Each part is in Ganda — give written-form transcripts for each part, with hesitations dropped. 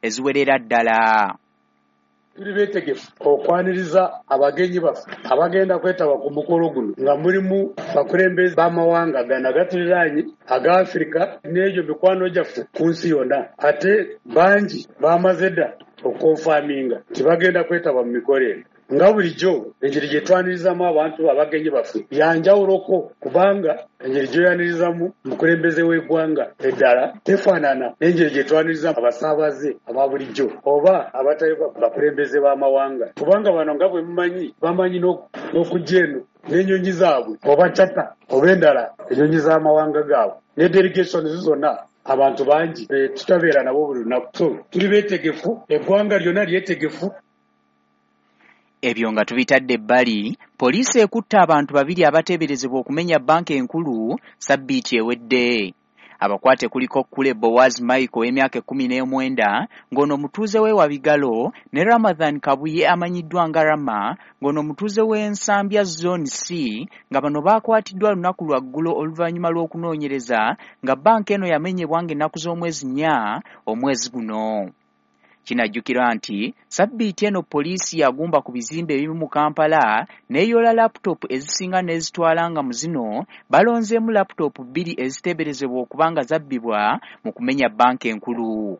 eziwerera ddala. Tuli beetegefu okwaniriza abagenyi baffe abagenda kwetaba ku mukolo guno nga mulimu bakulembeze b'amawanga gano agatuliraanye aga Afirika n'egyo mikwano gyaffe ku nsi yonna, ate bangi bamaze dda okukonfaminga nti bagenda kwetaba mu mikolo eno. Nga bulijjo engeri gye twanirizamu abantu abagenyi baffe yanjawuloko, kubanga engeri gy'oyanirizamu omukulembeze w'eggwanga eddala tefaanana n'engeri gye twanirizamu abasaabaze aba bulijjo oba abatali bakulembeze b'amawanga, kubanga bano nga bwe mumanyi bamanyi n'okujja eno n'ennyonyi zaabwe oba charter oba endala ennyonyi z'amawanga gaabwe ne delegations zonna, abantu bangi tutabeera nabo buli lunaku. So tuli beetegefu, eggwanga lyonna lyetegefu. Ebyo nga tubitadde ebbali, poliisi ekutte abantu babiri abateeberezebwa okumenya bbanka enkulu sabbiiti ewedde. Abakwate kuliko Kule Boaz Michael ow'emyaka 19 ng'ono mutuuze w'e Wabigalo ne Ramadhan Kabuye amanyiddwa nga Rama ng'ono mutuuze w'e Nsambya Zone C, nga bano baakwatiddwa lunaku lwa ggulo oluvannyuma lw'okunoonyereza nga bbanka eno yamenyebwa ng'ennaku z'omwezi 4 omwezi guno. Kinajjukirwa nti sabbiiti eno poliisi yagumba ku bizimbe ebimu mu Kampala n'eyoola laputopu ezisinga n'ezitwala, nga mu zino balonzeemu laputopu 2 eziteeberezebwa okuba nga zabbibwa mu kumenya bbanka enkulu.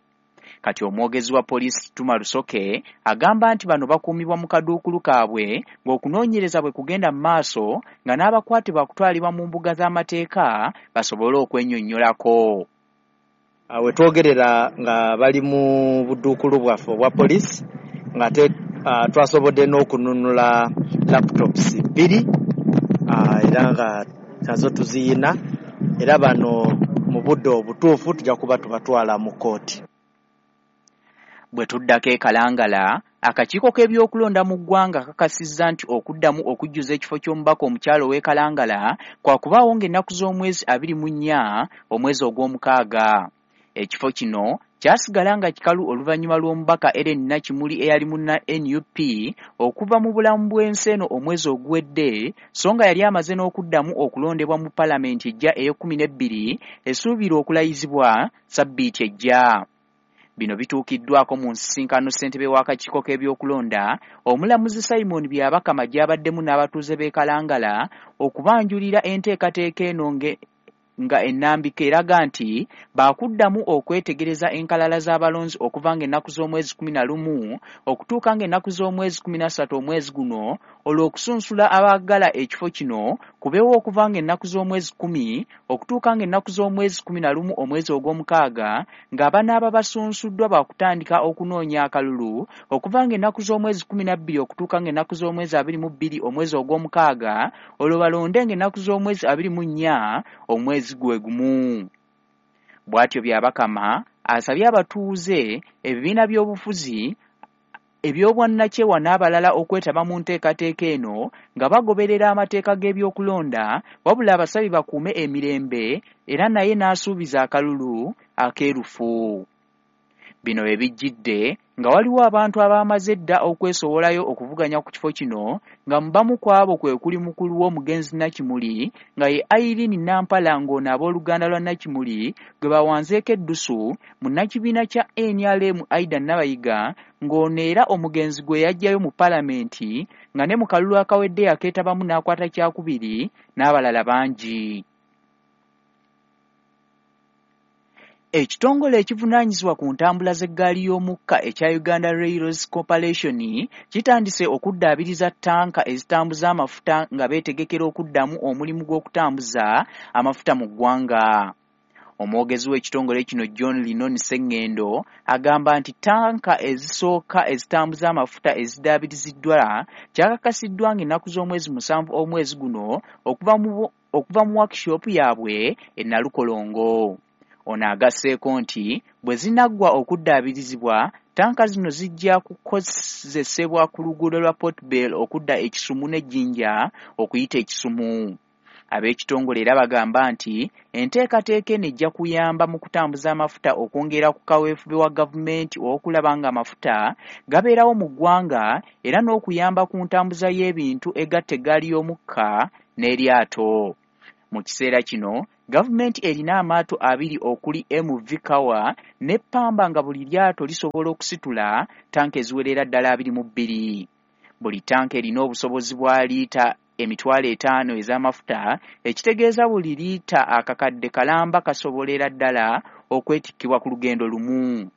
Kati omwogezi wa poliisi Tuma Rusoke agamba nti bano bakuumibwa mu kaduukulu kaabwe ng'okunoonyereza bwe kugenda mu maaso, nga n'abakwate bakutwalibwa mu mbuga z'amateeka basobole okwennyonnyolako. We twogerera nga bali mu budduukulu bwaffe obwa poliisi, ng'ate twasobodde n'okununula laptops 2, era nga nazo tuziyina, era bano mu budde obutuufu tujja kuba tubatwala mu kkooti. Bwe tuddako e Kalangala, akakiiko k'ebyokulonda mu ggwanga kakasizza nti okuddamu okujjuza ekifo ky'omubaka omukyala ow'e Kalangala kwa kubaawo ng'ennaku z'omwezi 24 omwezi ogw'omukaaga. Ekifo kino kyasigala nga kikalu oluvannyuma lw'omubaka Ellen Nakimuli eyali munna NUP okuva mu bulamu bw'ensi eno omwezi oguwedde, so nga yali amaze n'okuddamu okulondebwa mu palamenti ejja ey'ekkumi n'ebbiri esuubirwa okulayizibwa sabbiiti ejja. Bino bituukiddwako mu nsisinkano ssentebe w'akakiiko k'ebyokulonda omulamuzi Simon Byabakama gy'abaddemu n'abatuuze b'e Kalangala okubanjulira enteekateeka eno nga ennambika eraga nti baakuddamu okwetegereza enkalala z'abalonzi okuva ng'ennaku z'omwezi 11 okutuuka ng'ennaku z'omwezi 13 omwezi guno, olw'okusunsula abaagala ekifo kino kubeewo okuva ng'ennaku z'omwezi 10 okutuuka ng'ennaku z'omwezi 11 omwezi ogw'omukaaga, ng'abanaaba basunsuddwa baakutandika okunoonya akalulu okuva ng'ennaku z'omwezi 12 okutuuka ng'ennaku z'omwezi 22 omwezi ogw'omukaaga, olwo balonde ng'ennaku z'omwezi 24 omwezi gwe gumu. Bw'atyo Byabakama asabye abatuuze, ebibiina by'obufuzi, eby'obwannakyewa n'abalala okwetaba mu nteekateeka eno nga bagoberera amateeka g'ebyokulonda, wabula abasabye bakuume emirembe era naye n'asuubiza akalulu akeerufu. Bino we bijjidde nga waliwo abantu abaamaze dda okwesowolayo okuvuganya ku kifo kino, nga mu bamu ku abo kwe kuli mukulu w'omugenzi Nakimuli nga ye Irene Nampala, ng'ono abooluganda lwa Nakimuli gwe bawanzeeko eddusu, munnakibiina kya NRM Aida Nabayiga, ng'ono era omugenzi gwe yaggyayo mu palamenti nga ne mu kalulu akawedde yakeetabamu n'akwata kyakubiri, n'abalala bangi. Ekitongole ekivunaanyizibwa ku ntambula z'eggaali y'omukka ekya Uganda Railways Corporation kitandise okuddaabiriza ttanka ezitambuza amafuta nga beetegekera okuddamu omulimu gw'okutambuza amafuta mu ggwanga. Omwogezi w'ekitongole kino John Linon Ssengendo agamba nti ttanka ezisooka ezitambuza amafuta eziddaabiriziddwa kyakakasiddwa ng'ennaku z'omwezi 7 omwezi guno okuva mu workshop yaabwe e Nalukolongo. Ono agasseeko nti bwe zinaggwa okuddaabirizibwa, ttanka zino zijja kukozesebwa ku luguudo lwa Port Bell okudda e Kisumu ne Jinja okuyita e Kisumu. Ab'ekitongole era bagamba nti enteekateeka eno ejja kuyamba mu kutambuza amafuta okwongera ku kaweefube wa gavumenti ow'okulaba ng'amafuta gabeerawo mu ggwanga era n'okuyamba ku ntambuza y'ebintu egatta eggaali y'omukka n'eryato. Mu kiseera kino Gavumenti erina amaato 2 okuli MV Kawa ne Pamba nga buli lyato lisobola okusitula tanka eziwerera ddala 22. Buli tanka erina obusobozi bwa liita 50,000 ez'amafuta, ekitegeeza buli liita akakadde kalamba kasobolera ddala okwetikkibwa ku lugendo lumu.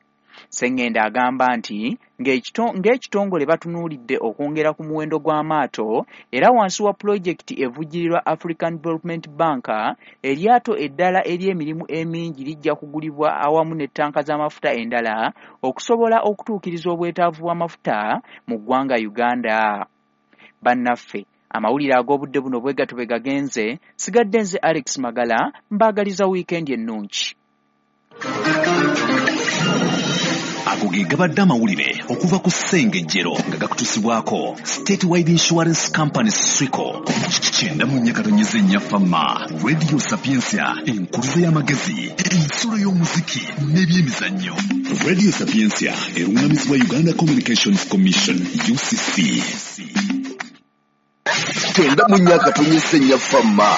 Ssengendo agamba nti ng'ekitongole batunuulidde okwongera ku muwendo gw'amaato era wansi wa pulojekiti evujjirirwa African Development Bank, eryato eddala ery'emirimu emingi lijja kugulibwa awamu ne ttanka z'amafuta endala okusobola okutuukiriza obwetaavu bw'amafuta mu ggwanga Uganda. Bannaffe, amawulire ag'obudde buno bwe gatyo bwe gagenze. Sigadde nze Alex Magala, mbaagaliza wiikendi ennungi. Ago ge gabadde amawulire okuva ku Ssengejjero nga gakutuusibwako Statewide Insurance Company Swico. 94.4 Fama, Radio Sapientia, enkuluze y'amagezi, ensulo y'omuziki n'ebyemizannyo. Radio Sapientia eruŋŋamizibwa Uganda Communications Commission UCC. 94.4 Fama.